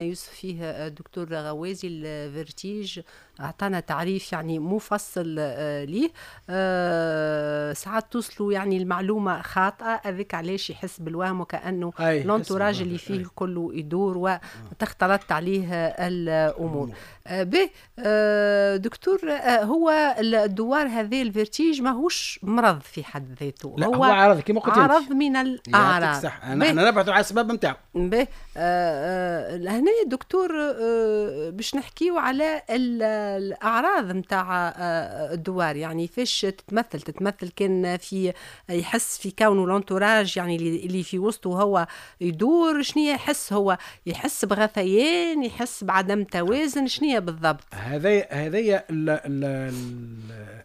يوسف فيه الدكتور غوازي ال vertige، اعطانا تعريف يعني مفصل ليه. ساعات توصلوا يعني المعلومة خاطئه، هذاك علاش يحس بالوهم وكانه l'entourage اللي فيه كله يدور وتختلط عليه الامور. به دكتور، هو الدوار هذا ال vertige ماهوش مرض في حد ذاته؟ لا، هو عرض كما قلت. عرض من الاعراض. صح، نحن نبحث على الاسباب نتاعو. به، هنا دكتور باش نحكيو على الاعراض نتاع الدوار، يعني فاش تتمثل؟ تتمثل كان في يحس في كونه l'entourage يعني اللي في وسطه هو يدور؟ شنو يحس هو؟ يحس بغثيان؟ يحس بعدم توازن؟ شنو بالضبط؟ هذا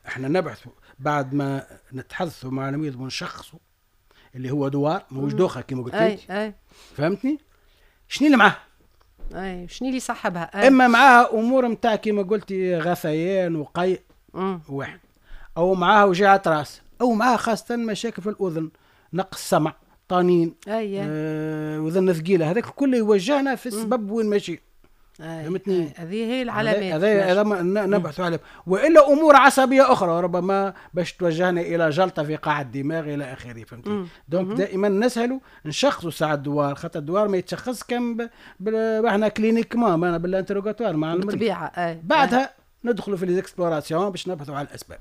احنا نبحث بعد ما نتحدثوا مع المريض ونشخصوا اللي هو دوار مش دوخه كما قلت لك. أي. فهمتني؟ شنو اللي معاه؟ اي، شنو اللي صاحبها؟ أي. اما معاها امور نتاع كما قلتي غثيان وقيء واحد، او معاها وجعة راس، او معاها خاصة مشاكل في الاذن، نقص سمع، طنين، وذن ثقيله، هذاك كله يوجهنا في السبب وين ماشي. فهمتني؟ هذه هي العلامات. هذا نبحث عليه، والا امور عصبية اخرى ربما باش توجهنا الى جلطة في قاع الدماغ الى اخره، فهمتني؟ donc دائما نسهلوا نشخصوا ساعة الدوار، خاطر الدوار ما يتشخص كان احنا cliniquement بال interrogatoire مع المريض. بالطبيعه. بعدها ندخلوا في les explorations باش نبحثوا على الاسباب.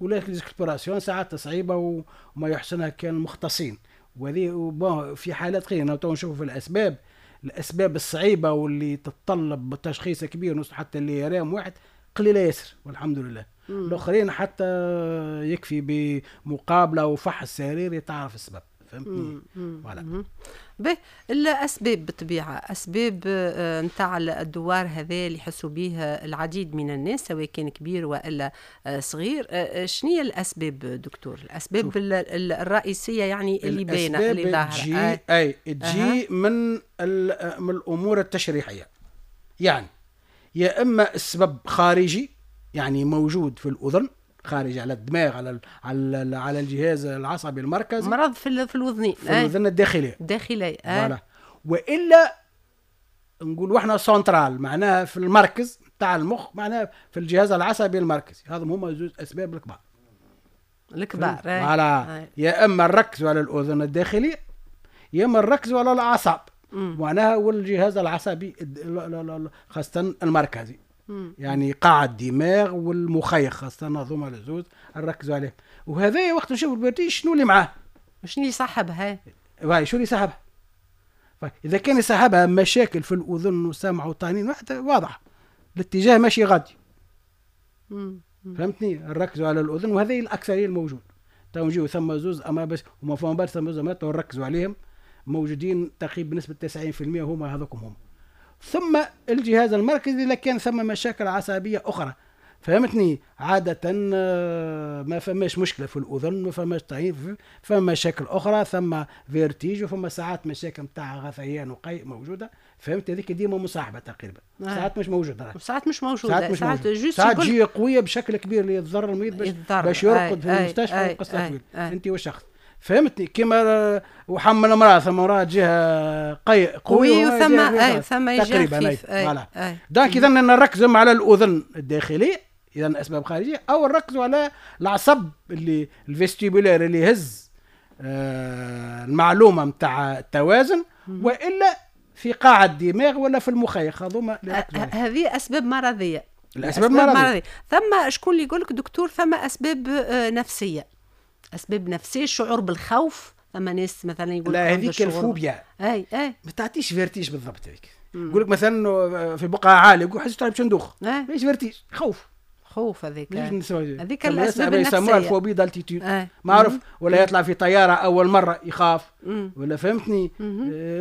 ولكن les explorations ساعات صعيبة وما يحسنها كان المختصين، وهذه في حالات قليله. تو نشوفوا في الاسباب الصعيبه واللي تتطلب تشخيص كبير نوصل حتى l'IRM واحد قليله ياسر والحمد لله. الاخرين حتى يكفي بمقابله وفحص سريري تعرف السبب، فهمتني؟ voilà. به، الاسباب بالطبيعة اسباب نتاع الدوار هذا اللي يحسوا به العديد من الناس، سواء كان كبير والا صغير، شنو هي الاسباب دكتور؟ الاسباب الرئيسية يعني اللي باينه، اللي ظاهره. اي، تجي من الامور التشريحيه، يعني يا اما السبب خارجي، يعني موجود في الاذن، خارج على الدماغ، على الجهاز العصبي المركزي. مرض في الوذنين. في الاذن الداخليه. الداخليه. voilà. والا نقول احنا سنترال، معناها في المركز تاع المخ، معناها في الجهاز العصبي المركزي. هذا هما زوج اسباب الكبار. الكبار. voilà، يا اما نركزوا على الاذن الداخليه، يا اما نركزوا على الاعصاب، معناها والجهاز العصبي خاصة المركزي، يعني قاع الدماغ والمخيخ خاصة، هذوما الزوز نركزوا عليهم. وهذا وقت نشوف ال vertige شنو اللي معاه؟ شنو اللي صاحبها؟ واي، شو اللي صاحبها؟ اذا كان يصاحبها مشاكل في الاذن وسمع وطنين واضح الاتجاه ماشي غادي، فهمتني؟ نركزوا على الاذن، وهذا الاكثرية الموجود. تو نجيو ثم زوز اما بس وما فما برشا، ثم زوز اما نركزوا عليهم موجودين تقريبا بنسبة 90% هما هذوكم هما. ثم الجهاز المركزي اذا كان ثم مشاكل عصبية اخرى، فهمتني؟ عادة ما فماش مشكلة في الأذن، ما فماش طنين، فما مشاكل أخرى، ثم vertige وفما ساعات مشاكل نتاع غثيان وقيء موجودة، فهمت؟ هذيك ديما مصاحبة تقريبا. ساعات مش موجودة. ساعات مش موجودة. ساعات مش ساعات موجودة. ساعات تجي قوية بشكل كبير اللي يتضرر المريض باش يرقد في المستشفى وقصة طويلة. أنت والشخص، فهمتني؟ كما وحمل امراة، ثم امراة تجيها قيء قوي وثم اي ثم تقريبا. voilà، donc اذا نركزوا على الاذن الداخليه، اذا اسباب خارجيه، او نركزوا على العصب اللي ال vestibulaire اللي يهز المعلومة نتاع التوازن، والا في قاع الدماغ ولا في المخيخ، هذوما. هذه اسباب مرضيه. الاسباب مرضيه. ثم شكون اللي يقول لك دكتور ثم اسباب نفسيه، اسباب نفسيه، الشعور بالخوف، ثم ناس مثلا يقول لا، هذيك الفوبيا. اي. ما تعطيش vertige بالضبط. هذيك يقول لك مثلا في بقعة عالية يقول حسيت باش ندوخ، ماهيش vertige، خوف. خوف هذيك. هذيك الاسباب النفسيه. يسموها ال phobie d'altitude معروف، ولا يطلع في طيارة اول مرة يخاف، ولا فهمتني؟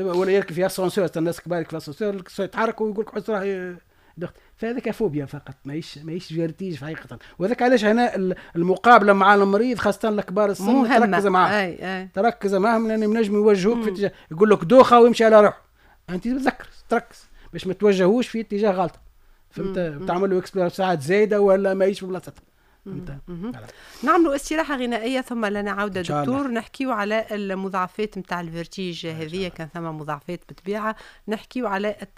ولا يركب في اسانسور، الناس كبار في اسانسور يتحرك ويقول لك حس راهي دخت. فهذاك فوبيا فقط، ماهيش vertige في حقيقه. وهذاك علاش هنا المقابلة مع المريض خاصة الكبار السن تركز معاه. أي. تركز معاهم لان ينجم يوجهوك في اتجاه، يقول لك دوخه ويمشي على روحه، انت تتذكر تركز باش ما توجهوش في اتجاه غلط، فهمت؟ تعمل له exploration ساعات زايدة ولا ماهيش في بلاصتها. فهمت؟ نعملوا استراحة غنائية ثم لنا عوده دكتور، نحكيو على المضاعفات نتاع ال vertige هذه، كان ثم مضاعفات بالطبيعه، نحكيو على التشخيص.